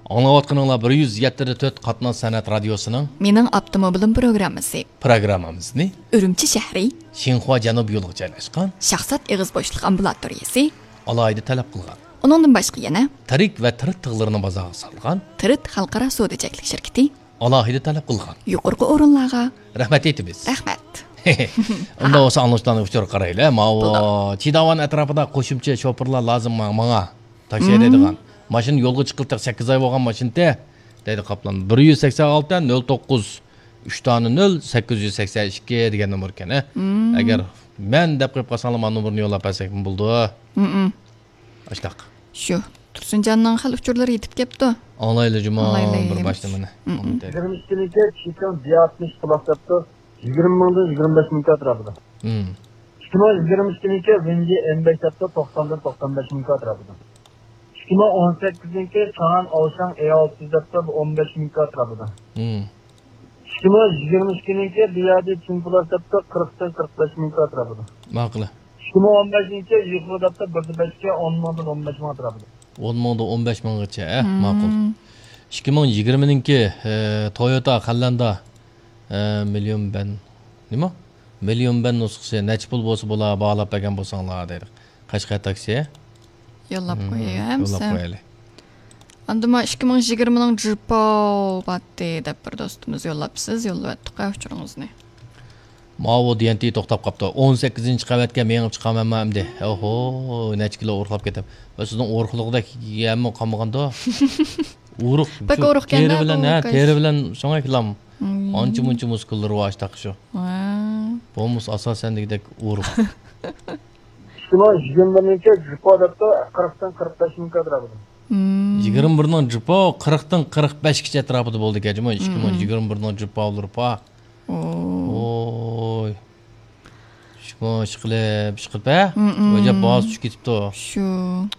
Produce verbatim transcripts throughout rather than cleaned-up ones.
ئاڭلاۋاتقىنىڭلار بىر يۈز يەتتە تۆت قاتناش سەنئەت رادىيوسىنىڭ مېنىڭ ئاپتوموبىلىم پروگراممىسى. پروگراممىمىزنى ئۈرۈمچى شەھىرى شىنخۇا جەنۇبىي يولىغا جايلاشقان شاھزات ئېغىز بوشلۇق ئامبۇلاتورىيىسى ئالاھىدە تەلەپ قىلغان. ئۇنىڭدىن باشقا يەنە تىرىك ۋە تىرىت تىغلىرىنى بازارغا سالغان تىرىت خەلقئارا سودا چەكلىك شىركىتى ئالاھىدە تەلەپ قىلغان. يۇقىرىقى ئورۇنلارغا رەھمەت ئېيتىمىز. رەھمەت. ئۇنداق بولسا ئاڭلىغۇچىلارنىڭ ئۇچۇرىغا قارايلى. ماۋۇ بولدى. چىداۋان ئەتراپىدا قوشۇمچە شوپۇرلار لازىم ما-، ماڭا. تاكسى ھەيدەيدىغان. ماشىنا يولغا چىققىلى تېخى سەككىز ئاي بولغان ماشىنىتى. دەيدۇ قاپلان. بىر يۈز سەكسەن ئالتە نۆل توققۇز ئۈچ دانە نۆل سەككىز يۈز سەكسەن ئىككى دېگەن نومۇر ئىكەن، ھە؟ ئەگەر مەن دەپ قويۇپ قالساڭلار، مانا نومۇرنى يوللاپ بەرسەكمۇ بولىدۇ. ئاشتاق. شۇ. تۇرسۇنجاننىڭ خېلى ئۇچۇرلىرى يېتىپ كەپتۇ. ئاڭلايلى جۇمۇ ئاڭلايلى. بىر باشلىمىنى. يىگىرمە ئىككىنىڭكى چىكاڭ بىئاتمىش پلاس دەپتۇ. يىگىرمە مىڭدىن يىگىرمە بەش مىڭ ئەتراپىدا. ئىككى مىڭ يىگىرمە ئىككىنىڭكى ۋېنجى ئېم بەش دەپتۇ، توقساندىن توقسان بەش مىڭ ئەتراپىدا. ئىككى مىڭ ئون سەككىزنىڭكى چاڭئەن ئاۋشاڭ ئې ئالتە يۈز دەپتۇ، بۇ ئون بەش مىڭ ئەتراپىدا. ئىككى مىڭ يىگىرمە ئىككىنىڭكى بىيادى چىنپۇلاس دەپتۇ، قىرىقتىن قىرىق بەش مىڭ ئەتراپىدا. ماقۇل. ئىككى مىڭ ئون بەشىنچى يۇقىرى دەپتۇ، بىردە بەشكە ئون مىڭدىن ئون بەش مىڭ ئەتراپىدا. ئون مىڭدىن ئون بەش مىڭغىچە، ھە؟ ماقۇل. ئىككى مىڭ يىگىرمىنىڭكى، ئە، تويوتا خەللەندا، ئە، مىليون بەن، نېمە؟ مىليون بەن نۇسخىسى نەچچە پۇل بولسا بولا، باھالاپ بەرگەن بولساڭلار دەيدۇ. قەشقەر تاكسى. يوللاپ قوياي، ھەمسە. يوللاپ قويايلى. ئاندىن ما ئىككى مىڭ يىگىرمىنىڭ جىپاۋ باتتى دەپ بىر دوستىمىز يوللاپسىز، يوللىۋەتتۇق ھە ئۇچۇرىڭىزنى. ماۋۇ دىيەنتى توختاپ قاپتۇ. ئون سەككىزىنچى قەۋەتكە مېڭىپ چىقامەنما ئەمدى؟ ئوھو، نەچچە كىلو ئورۇقلاپ كېتىپ. ۋە سىزنىڭ ئورۇقلۇقىدەك يەممۇ قالمىغاندۇ؟ ئورۇق. بەك شۇ ئورۇقكەن تېرە بىلەن، ھە، تېرە بىلەن شۇڭا كىلام. ئانچە مۇنچە مۇسكۇللىرى بار ئاشتاق شۇ. ۋە. بولمىسا ئاساسەن دېگۈدەك ئورۇق. ئىككى مىڭ يىگىرمە بىرنىڭكى جىپاۋ دەپتۇ، قىرىقتىن قىرىق بەش مىڭ ئەتراپىدا. يىگىرمە بىرنىڭ جىپاۋ قىرىقتىن قىرىق بەشكىچە ئەتراپىدا بولىدىكەن جۇمۇ. ئىككى مىڭ يىگىرمە بىرنىڭ جىپاۋلىرى پا. ئوي. شۇ، ئىشقىلىپ، ئىشقىلىپ، ھە؟ ئۆجەپ باھاسى چۈشۈپ كېتىپتۇ. شۇ.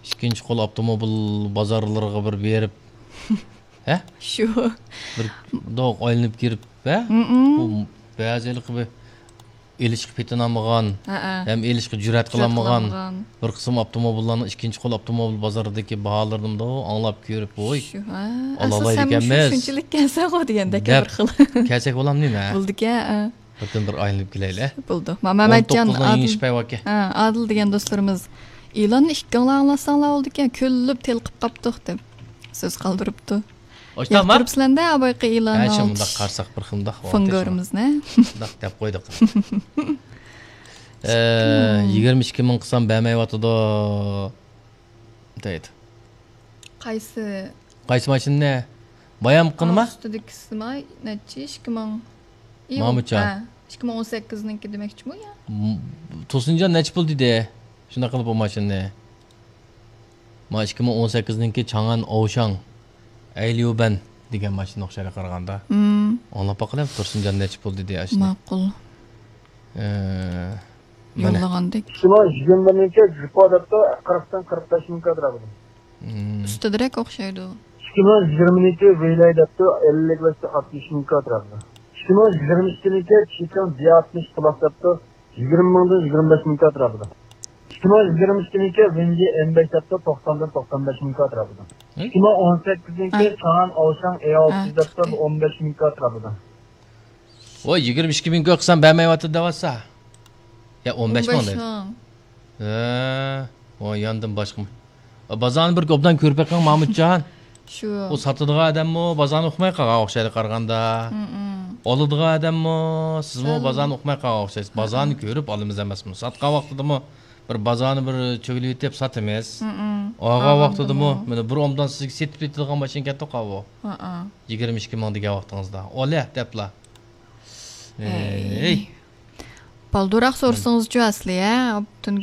ئىككىنچى قول ئاپتوموبىل بازارلىرىغا بىر بېرىپ، ھە؟ شۇ. بىر دوق ئايلىنىپ كىرىپ، ھە؟ بۇ بەزى ھېلىقى بىر ئېلىشقا پېتىنالمىغان، ھەم ئېلىشقا جۈرئەت قىلالمىغان بىر قىسىم ئاپتوموبىللارنىڭ ئىككىنچى قول ئاپتوموبىل بازىرىدىكى باھالىرىنىمدۇ ئاڭلاپ كۆرۈپ، ۋوي، شۇ، ھە، ئاساسەن شۇ ئالالمايدىكەنمىز شۇنچىلىك كەلسەغۇ دېگەندەك دەپ بىر خىل. كەلسەك بولامدۇ نېمە؟ بولىدىكەن، ھە. بىردىن بىر ئايلىنىپ كېلەيلى. بولدى. ما-، مەمەتجان، ئون توققۇزنىڭ ئادىل، يېڭىش پەيۋاكى. ھە، ئادىل دېگەن دوستلىرىمىز، ئېلاننى ئىككىڭلار ئاڭلاتساڭلار بولىدىكەن، كۈلۈپ تېلىقىپ قاپتۇق دەپ سۆز قالدۇرۇپتۇ. ئاشتاقمۇ؟ ياقتۇرۇپسىلەر-دە، ئاۋايقى ئېلاننى ھە، شۇ ئالدىش مۇنداق قارىساق بىر خىل مۇنداق فونگورىمىزنى. مۇنداق دەپ قويدۇق. ئە، يىگىرمە ئىككى مىڭ قىلسام بەرمەيۋاتىدۇ. دەيدۇ. قايسى؟ قايسى ماشىنىنى؟ بايام قىنما؟ ئۈستىدىكىسىما نەچچە؟ ئىككى مىڭ. ئىيۇ، مامۇتجان. ھە، ئىككى مىڭ ئون سەككىزنىڭكى دېمەكچىمۇ يا؟ م-، تۇرسۇنجان نەچچە پۇل دېدى؟ شۇنداق قىلىپ بۇ ماشىنىنى. ما ئىككى مىڭ ئون سەككىزنىڭكى چاڭئەن ئوشاڭ ئەيليۇبەن دېگەن ماشىنا ئوخشايدۇ قارىغاندا. ئاڭلاپ باقىلى، تۇرسۇنجان نەچچە پۇل دېدى ئاشۇنى. ماقۇل. ئە، مانا. يوللىغاندەك. ئىككى مىڭ يىگىرمە بىرنىڭكى جىپا دەپتۇ، قىرىقتىن قىرىق بەش مىڭ كادىر ئالىدۇ. ئۈستىدىرەك ئوخشايدۇ. ئىككى مىڭ يىگىرمىنىڭكى ۋېيلاي دەپتۇ، ئەللىك بەشتە ئاتمىش مىڭ كادىر ئالىدۇ. ئىككى مىڭ يىگىرمە ئىككىنىڭكى چىكاڭ دى ئاتمىش پلاس دەپتۇ، يىگىرمە مىڭدىن يىگىرمە بەش مىڭ كادىر ئالىدۇ. ئىككى مىڭ يىگىرمە ئىككىنىڭكى ۋېنجى ئېم بەش دەپتۇ، توقساندىن توقسان بەش مىڭ كادىر ئالىدۇ. ئىككى مىڭ ئون سەككىزنىڭكى چاڭئەن ئوشاڭ ئې ئالتە يۈز دەپتۇ، بۇ ئون بەش مىڭ كادىر ئالىدۇ. ۋاي، يىگىرمە ئىككى مىڭ كۆرسەم بەرمەيۋاتىدۇ دەۋاتسا. يا، ئون بەش مىڭ دەيدۇ. ھە، ۋاي، ياندىن باشقىمۇ. بازارنى بىر ئوبدان كۆرۈپ بېقىڭ، مامۇتجان. شۇ. ئۇ ساتىدىغان ئادەممۇ بازارنى ئۇقماي قالغان ئوخشايدۇ قارىغاندا. ئالىدىغان ئادەممۇ، سىزمۇ بازارنى ئۇقماي قالغان ئوخشايسىز. بازارنى كۆرۈپ ئالىمىز ئەمەسمۇ؟ ساتقان ۋاقتىدىمۇ بىر بازارنى بىر چۆگىلىۋېتىپ ساتىمىز. ئالغان ۋاقتىدىمۇ، مانا بىر ئوبدان سىزگە سېتىپ كېتىدىغان ماشىنا كەتتى قاۋۇ. يىگىرمە ئىككى مىڭ دېگەن ۋاقتىڭىزدا. ئالە دەپلا. ئەي. بالدۇراق سورىسىڭىزچۇ ئەسلى، ھە؟ ئوبدان